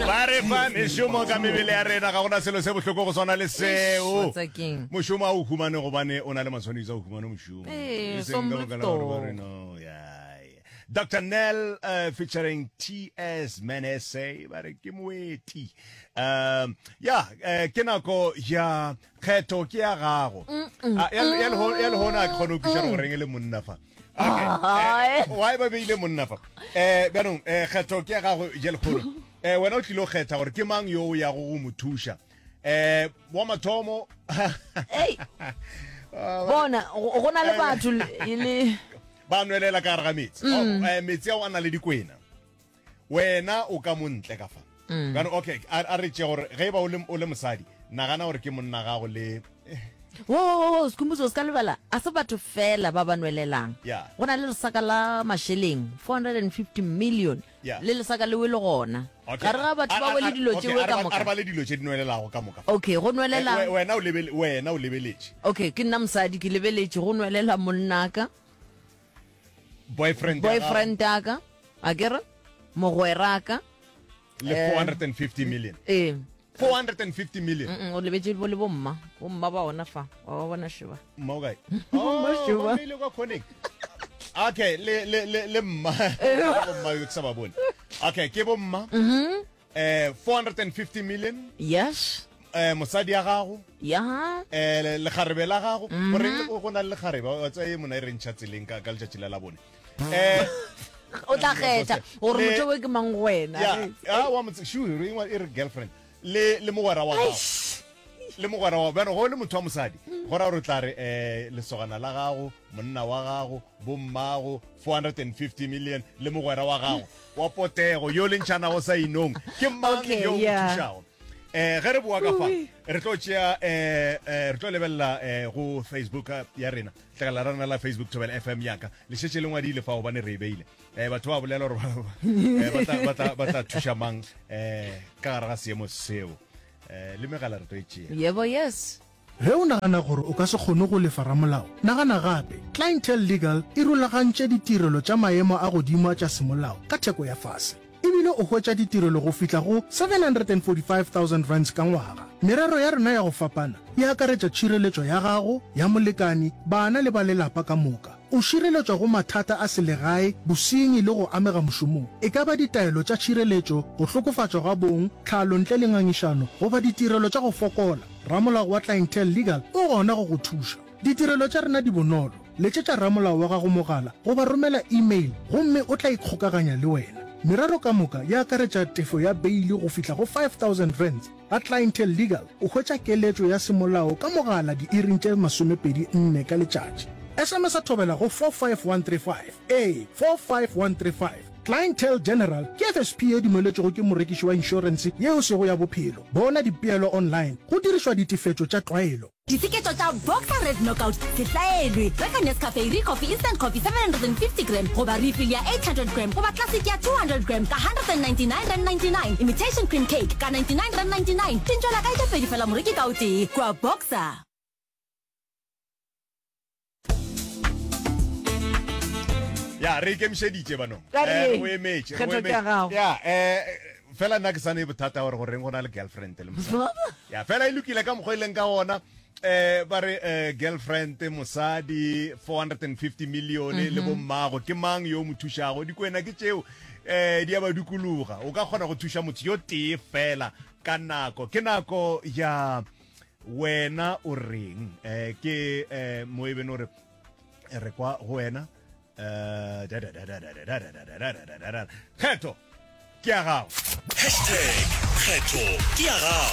Ba re fa mešomo ka mebele ya rena, ga gona selo se bohloko go swana le seo. Wa tseba keng? Mošomo a o humane gobane o na le matshwanedi a o humane mošomo. Ee, E seng ka baka la gore ba re no, ya, ya. Dr. Nel uh, featuring TS Manese ba re ke moeti. Um ya eh, ke nako ya kgetho ke ya gago. Ah, ya ya leho- ya lehono a ke kgone go kwiša gore goreng e le monna fa. Okay. Eh, why ba beile monna fa? Eh bjanong eh kgetho ke ya gago ya lehono. Eh wena o tlile go kgetha gore ke mang yo o yago go mo thuša. Eh wa mathomo Ei. Bona, go go na le batho le e le ba nwelela ka gare ga metsi. Oh, eh, metsi ao a na le dikwena. Wena o ka mo ntle ka fa. Bjano okay, a a re tšee gore ge e ba o le o le mosadi, nagana gore ke monna gago le Wo, wo, wo, wo, Skhumbuzo, o se ka lebala, a se batho fela ba ba nwelelang. Yeah. Go na le lesaka la mašeleng, 450 million, Yeah. le lesaka lewe le gona. Okay. Gare ga batho A- ba a- wele a- dilo okay, tšewe a re ka ba- moka. A re bale dilo tše di nwelelago ka moka. Okay, go nwelela. Eh, we- wena o lebele, wena o lebeletše. Okay, ke nna mosadi, ke lebeletše, go nwelela monnaka. Boyfriend ya gago. Boyfriend ya ka, a ke re, mogweraka. Le 450 million. Ee. 450 million. Mm, o lebetše bo le bomma. Bomma ba ona fa. Wa ba bona šeba. Mma o kae? Bomma Oh, šeba. ba mmeile kwa khoneng. Okay, le le le le mma. Bomma yo ke sa ba bone. Okay, ke bomma. Mhm. Eh 450 million. Yes. Eh mosadi ya gago. Ya. Eh le- lekgarebe la gago. Goreng go na le lekgarebe? Wa tseba ye mona e re ntšha tseleng ka ka letšatši la labone. Eh O tla kgetha gore Le- motho o ke mang go wena. ya, ah wa motse shu re engwa e re girlfriend le le mogwera wa gago. Le mogwera wa bjano go le motho wa mosadi go ra gore o tla re eh lesogana la gago, monna wa gago, bommago, 450 million le mogwera wa gago wa potego yo le ntšhanago sa inong ke mang Okay, yo o yeah. thušago eh ge re boa ka fa re tlo tšea eh eh, re tlo lebelela eh go Facebook ya rena tlakala la rena la Facebook Thobela FM yaka le šetše le ngwadile fa gobane re e beile eh batho ba bolela gore ba- eh, ba tla- ba tla- ba tla thuša mang eh ka gare ga seemo seo eh le megala re tlo e tšea Yebo yes. Ge o nagana gore o ka se kgone go lefa ramolao, nagana gape. Clientele Legal e rulagantše ditirelo tša maemo a godimo tša semolao ka theko ya fase. E bile o hwetša ditirelo go fihla go R745,000 ka ngwaga. Merero ya rena ya go fapana e akaretša tšhireletšo ya gago, ya molekani, bana le ba lelapa ka moka. O šireletšwa go mathata a selegae, bosenyi le go amega mošomong, e ka ba ditaelo tša tšhireletšo, go hlokofatšwa ga bong, tlhalo ntle le ngangišano goba ditirelo tša go fokola. Ramolao wa Clientele Legal o gona go go thuša. Ditirelo tša rena di bonolo. Letšetša ramolao wa gago mogala goba romela email gomme o tla ikgokaganya le wena. Merero ka moka e akaretša tefo ya beili go fihla go R5000. Ga Clientele Legal o hwetša keletšo ya semolao ka mogala diiring tše 24 ka letšatši. SMS-a thobela go 45135. Ee, 45135. Clientele General ke FSP ye dumeletšwego ke morekiši wa inšorense ye e sego ya bophelo. Bona dipeelo online go dirišwa ditefetšo tša tlwaelo. Diseketšo tša Boxer Red Knockout se hlaelwe. Reka Nescafe Ricoffy Instant Coffee 750 gram goba refill ya 800 gram goba Classic ya 200 gram ka R199.99. Imitation Cream Cake ka R99.99. Dintšwela kae tše pedi fela moreki ka o tee kua Boxer. Ya re ikemišeditše banong. Ka re, Eh, re o emetše, re o kgetho ke ya emetše. gago. Ya, eh, fela nna ke sa ne bothata gore goreng go na le girlfriend le mosadi. Ya, fela e lokile ka mokgwa e leng ka gona. Eh, ba re eh, girlfriend mosadi 450 million le bommago ke mang yo o mo thušago dikwena ke tšeo eh di a ba dukuluga o ka kgona go thuša motho yo tee fela ka nako ke nako ya wena o reng eh ke eh mo e beno re re kwa go wena eh da da da da da da da da da da da da da kgetho ke ya gago Hashtag kgetho ke ya gago.